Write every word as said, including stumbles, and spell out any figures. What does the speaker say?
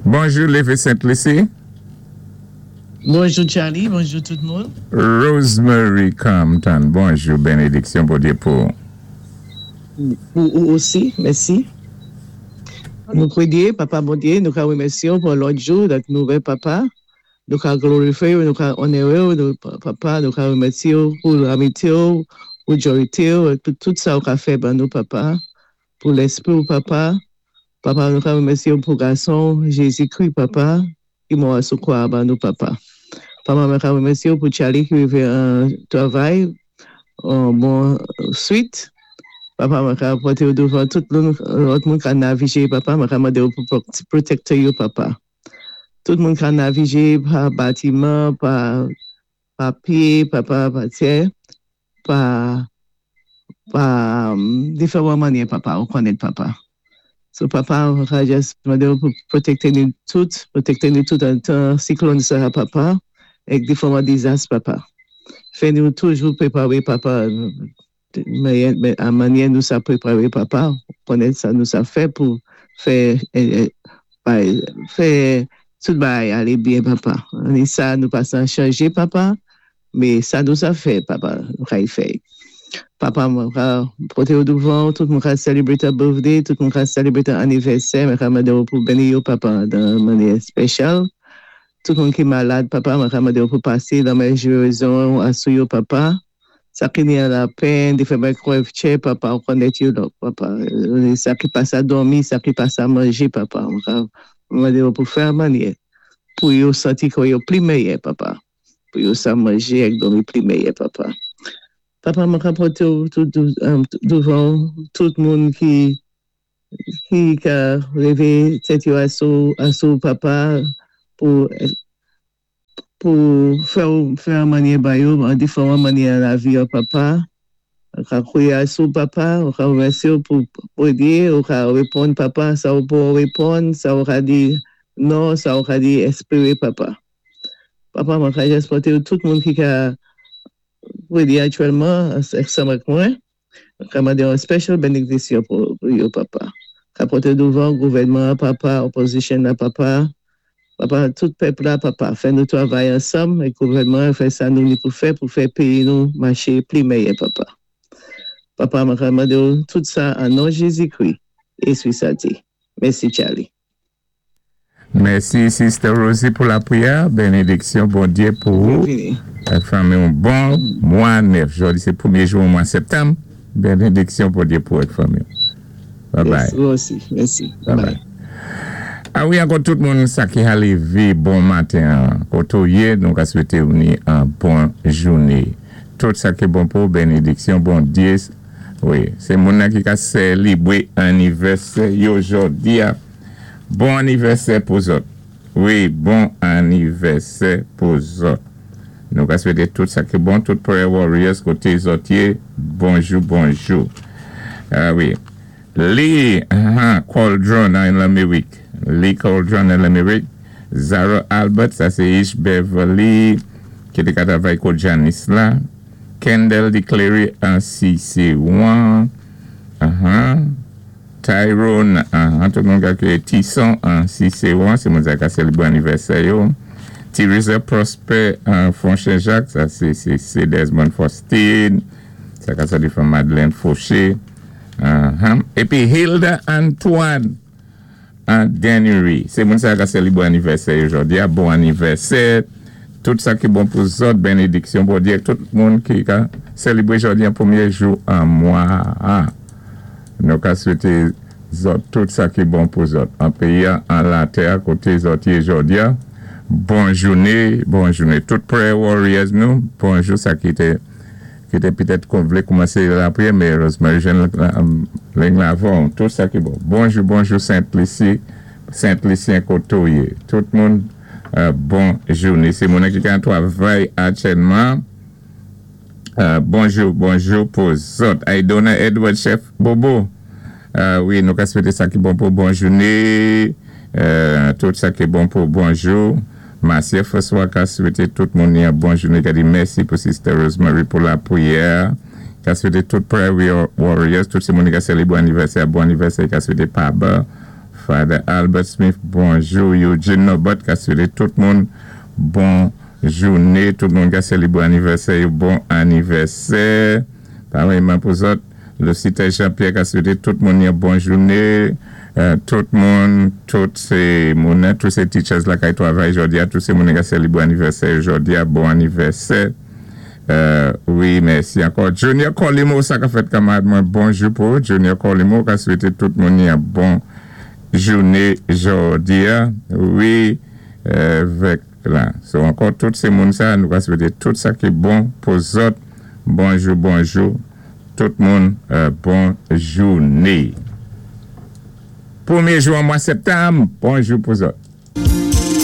Bonjou, Lévé Sainte-Lucie. Bonjou Charlie, bonjou tout moun. Rosemary Compton, bonjou, bénédiksyon Bondyé pou. Pou ou osi, mèsi. Nou pwéyé, Papa Bondyé, nou ka wémèsyé pou lòt jou, dat nou wè Papa. Nou ka glorifyé, nou ka onoré'w, nou, Papa, nou ka wémèsyé pou lamityé, pou jòyté, pou tout sa ou ka fè ban nou, Papa. Pou léspri ou, Papa. Papa, nou ka wémèsyé pou gason Jézi-Kri, Papa, ki mò sou kwa ban nou, Papa. Papa, mwen ka wémèsyé pou Charlie ki rivé an travay, an bon swit. Papa, mwen ka pòté ou douvan tout moun, lòt moun ka navigé, Papa, mwen ka mandé ou pou pwotékté yo, Papa. Tout moun ka navigé pa batiman, pa, pa pyé, Papa, pa tè, pa, pa um, diferan mannyè, Papa, ou konnèt, Papa. So, Papa, mwen ka jis mandé ou pou pwotékté nou tout, pwotékté nou tout an tan siklòn sa, Papa, èk diferan dizas, Papa. Fè nou toujou pwéparé, Papa, men an mannyè nou sa pwéparé, Papa, konnèt sa nou sa fè pou fè, eh, eh, fè tout bagay alé byen, Papa. Ni sa nou pa san chanjé, Papa, mé sa nou sa fè, Papa, nou kay fè. Papa, mwen ka pòté ou douvan, tout moun ka sélébwé ta birthday, tout moun ka sélébwé ta anivèsè, mwen ka mandé ou pou béni yo, Papa, dan mannyè spésyal. Tout moun ki malad, Papa, mwen ka mandé ou pou pasé lanmen gérizon asou yo, Papa. Sa ki ni an lapenn, diferan krèvtè, Papa, ou konnèt yo, donk, Papa. Sa ki pa sa dòmi, sa ki pa sa manjé, Papa. Mwen ka mandé ou pou fè mannyè, pou yo santi ke yo pli méyè, Papa. Pou yo sa manjé èk dòmi pli méyè, Papa. Papa, mwen ka pòté ou tout um, douvan tout moun ki ki ka lévé tèt yo asou, asou Papa, pou pou fè fè an mannyè ba yo, an diferan mannyè lavi yo, Papa. Ou ka kwiyé asou Papa, ou ka wémèsyé ou pou pwéyé, ou ka wéponn Papa, sa ou pou wéponn, sa ou ka di non, sa ou ka di espéré, Papa. Papa, mwen ka jis pòté ou tout moun ki ka pwéyé aktyèlman, ansanm ak mwen, mwen ka mandé yon special bénédiksyon pou, pou yo, Papa. Ka pòté douvan gouvèdman, Papa, opozisyon la, Papa. Papa, tout pèp la, Papa, fè nou travay ansanm, é gouvèdman fè sa nou ni pou fè, pou fè péyi nou maché pli méyè, Papa. Papa, mwen ka mandé ou tout sa an non Jézi-Kri, é sa di. Mèsi, Charlie. Mèsi, Sister Rosie, pou lapwiyè. Bénédiksyon, Bondyé, pou ou. Byenvini. Fanmi, yon bon mwa nèf. Jòdi, sé pwémyé jou mwa septanm. Bénédiksyon, Bondyé, pou èk fanmi. Bye bye. Yes, ou osi. Mèsi. Bye bye. A wi, ankò tout moun sa ki a lévé bon maten, koté ou yé, nou ka swété ou ni an bon jouné. Tout sa ki bon pou bénédiksyon, Bondyé. Wi, sé moun nan ki ka sélébwé anivèsè yo jòdi a. Bon anivèsè pou zòt. Wi, bon anivèsè pou zòt. Nou ka swété tout sa ki bon, tout prayer warriors koté zòt yé, bonjou, bonjou. A wi. Lee uh, Cauldron an Lamérik. Lee Cauldron an Lamérik. Zara Albert, sa sé Ish Beverly, ki té ka travay kou Janice la. Kendall Declaré an C C un. Uh-huh. Tyrone, uh, tout moun ka ki Tisson an C C un, sé moun sa ka sélébwé anivèsè yo. Teresa Prosper an Fonchen Jacques, sa sé sé sé Desmond Faustin, sa ka sa di from Madeleine Fauché. Uh-huh. Épi Hilda Antoine an Dennery. Sé moun sa ka sélébwé anivèsè jòdi a, bon anivèsè. Tout sa ki bon pou zòt, bénédiksyon Bondyé, tout moun ki ka sélébwé jòdi an pwémyé jou an mwa. Ah. Nou ka swété zòt tout sa ki bon pou zòt. An péyi an latè koté zòt yé jòdi a. Bon jouné, bon jouné. Tout prayer warriors nou, bonjou sa ki té ki té pitèt kon vlé koumansé lapwiyè, mé Rosemary Jean ling lavan, tout sa ki bon. Bonjou, bonjou Saint-Lucie, Saint-Lucien koté ou yé. Tout moun, euh, bon jouné. Sé moun ki ka travay aktyèlman. Euh, bonjou, bonjou pou zòt. Aidona Edward, chef Bobo. Euh, wi, nou ka swété sa ki bon pou bon jouné. Euh, tout sa ki bon pou bonjou. Marcia François ka swété tout moun yon bon jouné. Ka di mèsi pou Sister Rosemary pou lapwiyè. Ka swété tout prayer warriors, tout sé moun ki ka sélébwé anivèsè, bon anivèsè, ka swété Paba, Father Albert Smith, bonjou. Eugene Nobot, ka swété tout moun bon jouné. Tout moun ka sélébwé anivèsè, bon anivèsè. Pareilman pou zòt. Lucita Jean-Pierre ka swété tout moun yon bon jouné. Euh, tout moun, tout sé moun, tout sé teachers la kay twavay jòdi-a, tout sé moun ka sélébwé anivèsè jòdi-a, bon anivèsè. Euh, wi, mèsi ankò. Junior Colimo, sa ka fèt kanmarad mwen, bonjou pou Junior Colimo, ka swété tout moun yon bon jouné jòdi-a. Wi, euh, vèk la. So, ankò, tout sé moun sa, nou ka swété tout sa ki bon pou zòt. Bonjou, bonjou. Tout moun, euh, bon jouné. Pwémyé jou an mwa septanm, bonjou pou zòt.